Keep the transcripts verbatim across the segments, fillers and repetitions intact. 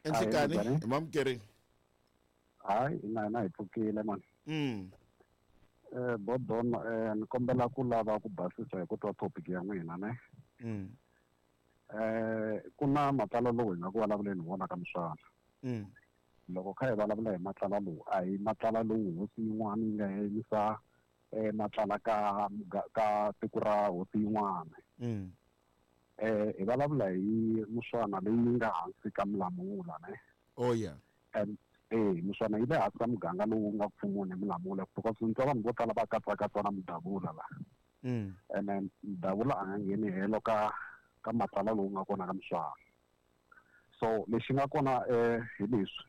Enhlikani hi mamukeri. Hayi ina ina hi pfukile man. Mm. Eh Bodon eh ni kombela ku lava ku basisa hi ku twa topic ya n'wina ne. Mm. Eh ku na matlala lowu hi nga ku vulavuleni hi wona ka Muswana. Mm. Loko kha hi vulavula hi matlala lowu a hi matlala lowu hosi yin'wana yi nga yimisa eh matlala ka ka tiko ra hosi yin'wana. Mm. Eh hi vulavula hi Muswana leyi nga hansi ka Mulamula ne. Oh yeah. And eh Muswana yi le hansi ka muganga lowu nga pfumuni Mulamula because ntwa vanhu vo tala va katsakatsa na Mudavula la. Mm. And then Mudavula a nga ngheni helo ka ka matlala lowu nga kona ka Muswana. So lexi nga kona eh hi leswi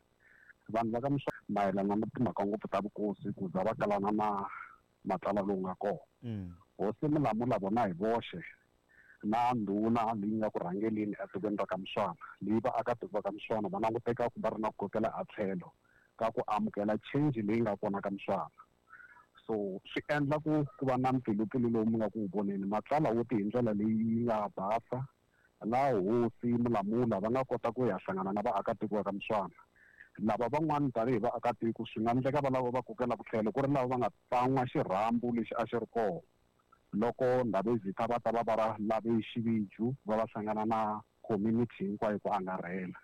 vanhu va ka Muswana mayelana na timhaka ngopfu ta vukosi ku za va kalana na matlala lowu nga kona. Mm. Hosi Mulamula vona hi voxe na ndhuna leyi nga ku rhangeleni etikweni ra ka Muswana leyi vaakatiko va ka Muswana va languteka ku va ri na ku kokela a tlhelo ka ku amukela change leyi nga kona ka Muswana. So swi endla ku ku va na mpfilumpfilu lowu mi nga ku voneni matlala wo ti hi ndlela leyi nga basa laha hosi Mulamula va nga kota ku ya hlangana na vaakatiko va ka Muswana. Lava van'wana tanihi vaakatiko swi nga endleka va lava va kokela ku tlhelo ku ri lava va nga tsan'wa xirhambo lexi a xi ri kona loko Ndabezitha va ta va va lave xiviju va va hlangana na community hinkwayo ku angarhela.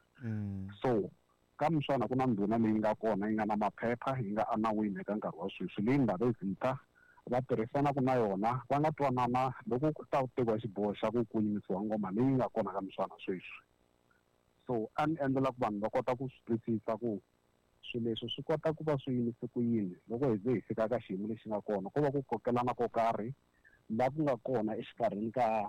So ka Muswana ku na ndhuna leyi nga kona yi nga na maphepha yi nga enawini eka nkarhi wa sweswi leyi Ndabezitha va tirhisanaka na yona va nga twanana loko ku ta tekiwa xiboho xa ku ku yimisiwa ngoma leyi nga kona ka Muswana sweswi. So a ni endlela ku vanhu va kota ku swi twisisa ku swilo leswi swi kota ku va swi yimise ku yini loko hi ze hi fika ka xiyimo lexi nga kona ko va ku kokelana ko karhi la ku nga kona exikarhini ka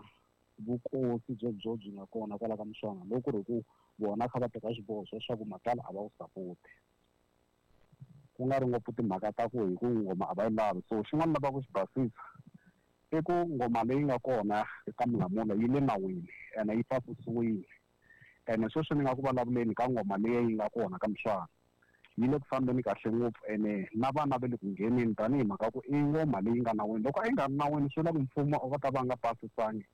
vukosi byebyo byi nga kona kwala ka Muswana loko ku ri ku vona kha va teka xiboho xa leswaku matlala a va wu sapoti ku nga ri ngopfu timhaka ta ku hi ku ngoma a va yi lavi. So xin'wana lava ku xi basisa i ku ngoma leyi nga kona eka Mulamula yi le nawini ene yi pasisiwile ene sweswi ni nga ku vulavuleni ka ngoma leyi yi nga kona ka Muswana yi le ku fambeni kahle ngopfu ene na vana va le ku ngheneni tanihi mhaka ku i ngoma leyi nga nawini. Loko a yi nga ri nawini swi vula ku mfumo va ta va nga pasisangi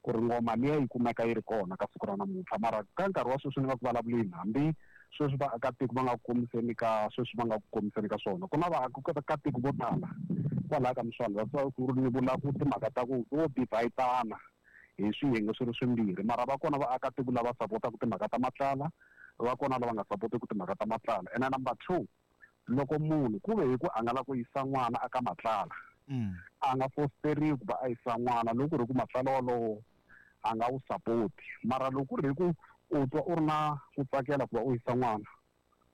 ku ri ngoma liya yi kumeka yi ri kona ka siku ra namuntlha. Mara ka nkarhi wa sweswi ni nga ku vulavuleni hambi sweswi vaakatiko va nga ku kombiseni ka sweswi va nga ku kombiseni ka swona ku na vaakatiko vo tala kwalaya ka Muswana va ku ri ni vula ku timhaka ta ku vo divhayitana hi swiyenge swi ri swimbirhi mara va kona vaakatiko lava sapotaka timhaka ta matlala va kona lava nga sapotiki timhaka ta matlala. Ene number two loko munhu ku ve hi ku a nga lava ku yisa n'wana aka matlala a nga fosteriwi ku va a yisa n'wana loko ku ri ku matlala wolowo a nga wu sapoti mara loko ku ri hi ku u twa u ri na ku tsakela ku va u yisa n'wana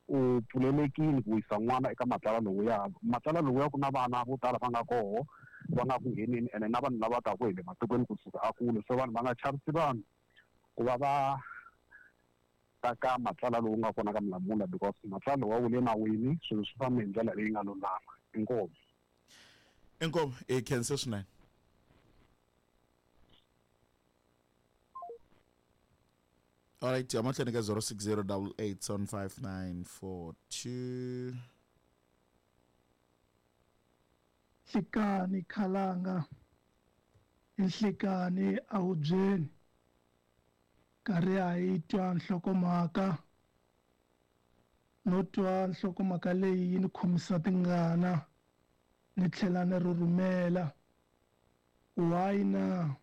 u pfulelekile ku yisa n'wana eka matlala lowuya. Matlala lowuya ku na vana vo tala va nga koho va nga ku ngheneni ene na vanhu lava taka hi le matikweni kusuka a kule so vanhu va nga chavisi vanhu ku va va ta ka matlala lowu nga kona ka Mulamula because matlala wa wu le nawini swilo swi fambe hi ndlela leyi nga lulama. Inkomu. Inkomu i khensa swinene. All right, I'm at zero six zero double eight seven five nine four two. Nhlikani khalanga, nhlikani awubyeni, karhi a yi twa nhlokomhaka, no twa nhlokomhaka leyi yi ni khomisa tingana, ni tlhela ni rhurhumela. Why na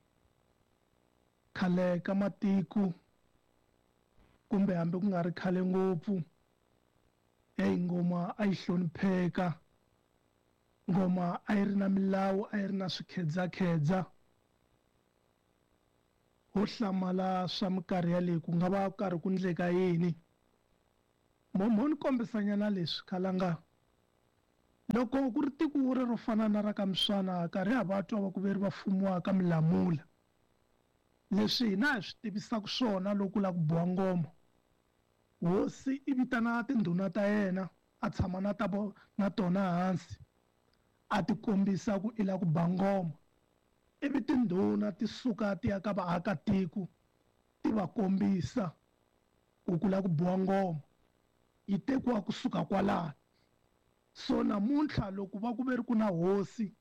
khale ka matiko kumbe hambi ku nga ri khale ngopfu hey ngoma a yi hlonipheka, ngoma a yi ri na milawu, a yi ri na swikhedzakhedza. Ho hlamala swa minkarhi yaleyi ku nga va karhi ku ndleka yini. Mo mo ni kombisanyana leswi khalanga loko ku ri tiko ri ro fana na ra ka Muswana karhi ha va twa va ku veri va fumiwa ka Mulamula leswi hina hi swi tivisaka swona loko la ku boha ngoma hosi i vitana tindhuna ta yena a tshama na ta na tona hansi a ti kombisa ku i la ku ba ngoma ivi tindhuna ti suka ti ya ka vaakatiko ti va kombisa ku ku la ku boha ngoma yi tekiwa kusuka kwalano. So namuntlha loko va ku ve ri ku na hosi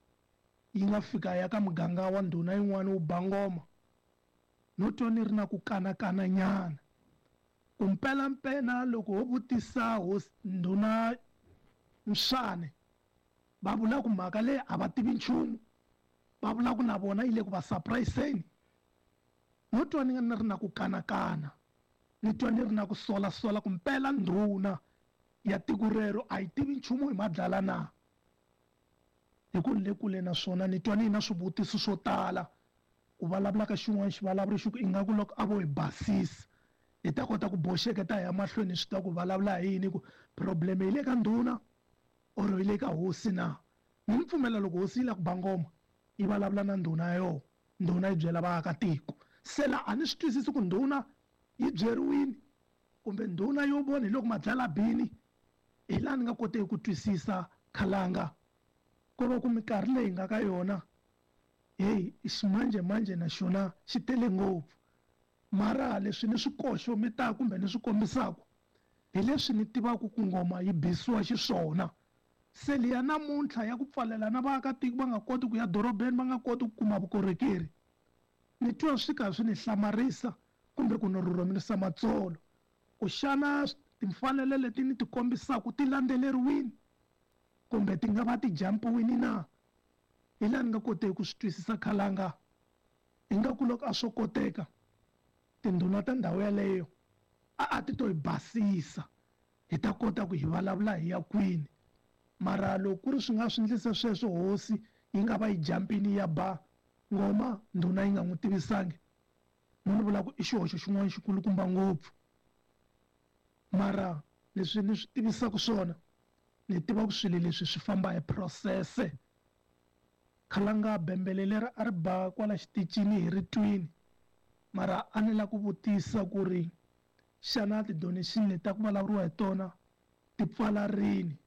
yi nga fika ya ka muganga wa ndhuna yin'wana wu ba ngoma no twa ni ri na ku kanakana nyana Ku mpelampela loko ho vutisa hosi ndhuna Mswane va vula ku mhaka leyi a va tivi nchumu, va vula ku na vona yi le ku va surpriseni. No twa ni nga ni ri na ku kanakana, ni twa ni ri na ku solasola ku mpela ndhuna ya tiko rero a yi tivi nchumu hi Madlala na. Hi ku ni le kule na swona, ni twa ni na swivutiso swo tala. Ku vulavula ka xin'wana xivulavuri xi ku ingaku loko a vo hi basisa hi ta kota ku boxeketa hi ya mahlweni, swi ta ku vulavula hi yini, ku problem yi le ka ndhuna or yi le ka hosi na. Ni ni pfumela loko hosi yi lava ku ba ngoma yi vulavula na ndhuna ya yona, ndhuna yi byela vaakatiko. Se la a ni swi twisisi ku ndhuna yi byeriwini kumbe ndhuna yo vona hi loko Madlala bini, hi laha ni nga koteki ku twisisa Khalanga. Ko va ku minkarhi leyi nga ka yona, heyi ximanjhemanjhe na xona xi tele ngopfu. Mara leswi ni swi koxometaka kumbe ni swi kombisaka hi leswi ni tivaka ku ngoma yi bisiwa xiswona. Se liya namuntlha ya ku pfalela na vaakatiko va nga koti ku ya dorobeni, va nga koti ku kuma vukorhokeri, ni twa swi ka swi ni hlamarisa kumbe ku ni rhurhumelisa matsolo. Ku xana timfanelo leti ni ti kombisaka ti landzeleriwini kumbe ti nga va ti jampiwini na? Hi laha ni nga koteki ku swi twisisa Khalanga. Ingaku loko a swo koteka tindhuna ta ndhawu yaleyo a a ti to hi basisa hi ta kota ku hi vulavula hi ya kwini. Mara loko ku ri swi nga swi endlise sweswo, hosi yi nga va yi jampini ya ba ngoma, ndhuna yi nga n'wi tivisangi, mo ni vula ku i xihoxo xin'wana xikulukumba ngopfu. Mara leswi ni swi tivisaka swona, ni tiva ku swilo leswi swi famba hi process. Khalanga bembele leri a ri ba kwala xitichini hi ri twini, mara a ni la ku vutisa ku ri xana ti-donation leti ta ku vulavuriwa hi tona ti pfala rini?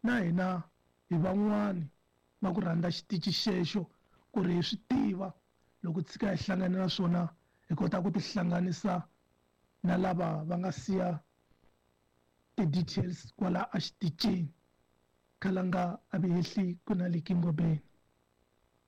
Na hina hi van'wani va ku rhandza xitichi xexo ku ri hi swi tiva loko tshika hi hlangana na swona, hi kota ku tihlanganisa na lava va nga siya ti-details kwala exitichini. Khalanga a vi hehli ku na le Kingobeni.